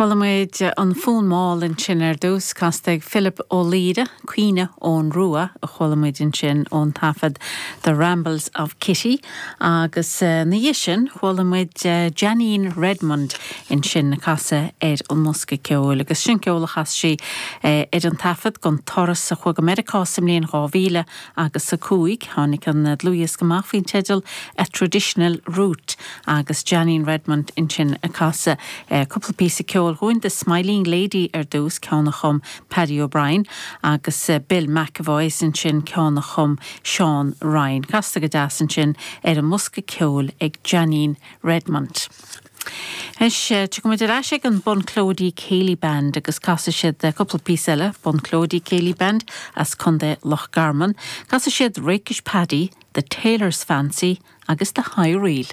Chuala muid an Fonn Mall ansin ar dtús, casta ag Philip Ó Laoire, Caoineadh Eoghan Rua a chuala muid ansin ón taifead The Rambles of Kitty agus ina dhiaidh sin chuala muid Janine Redmond ansin ag casadh ar an mbosca ceoil agus sin ceol a chas sí ar an taifead den turas a chuaigh go Meiriceá sa mbliain 2000 agus 5. Tháinig an dlúthdhiosca amach faoin teideal A Traditional Route agus Janine Redmond ansin ag casadh cúpla píosa ceoil dhúinn, The Smiling Lady ar dtús, ceann a chum Paddy O'Brien, agus Bill McEvoy is ansin ceann a chum Seán Ryan. Casta go deas ansin ar an mbosca ceoil ag Janine Redmond. Anois, tiocfaidh muid ar ais ag an Bunclody Céilí Band agus casfaidh siad cúpla píosa eile, Bunclody Céilí Band as Contae Loch Garman. Casfaidh siad Rakish Paddy, The Tailor's Fancy agus The High Reel.